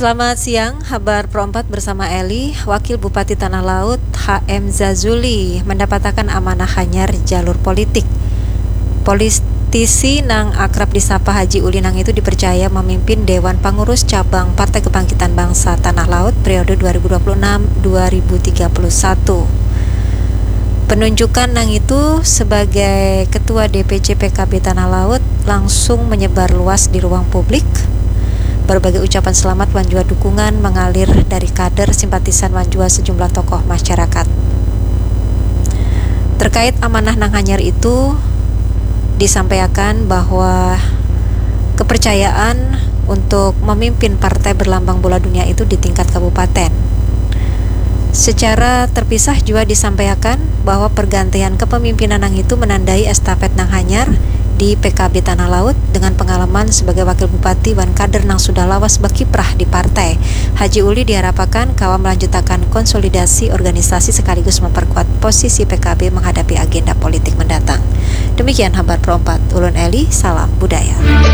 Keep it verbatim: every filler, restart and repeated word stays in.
Selamat siang, habar Pro empat bersama Eli. Wakil Bupati Tanah Laut, H M Zazuli, mendapatakan amanah hanyar jalur politik. Politisi nang akrab disapa Haji Uli nang itu dipercaya memimpin Dewan Pangurus Cabang Partai Kebangkitan Bangsa Tanah Laut periode dua ribu dua puluh enam dua ribu tiga puluh satu. Penunjukan nang itu sebagai Ketua D P C P K B Tanah Laut langsung menyebar luas di ruang publik. Berbagai ucapan selamat wan jua dukungan mengalir dari kader, simpatisan wan jua sejumlah tokoh masyarakat. Terkait amanah nang hanyar itu, disampaikan bahwa kepercayaan untuk memimpin partai berlambang bola dunia itu di tingkat kabupaten. Secara terpisah jua disampaikan bahwa pergantian kepemimpinan nang itu menandai estafet nang hanyar di P K B Tanah Laut dengan pengalaman sebagai wakil bupati wan kader nang sudah lawas bakiprah di partai. Haji Uli diharapakan kawa melanjutakan konsolidasi organisasi sekaligus memperkuat posisi P K B menghadapi agenda politik mendatang. Demikian habar Pro empat, ulun Eli, salam budaya.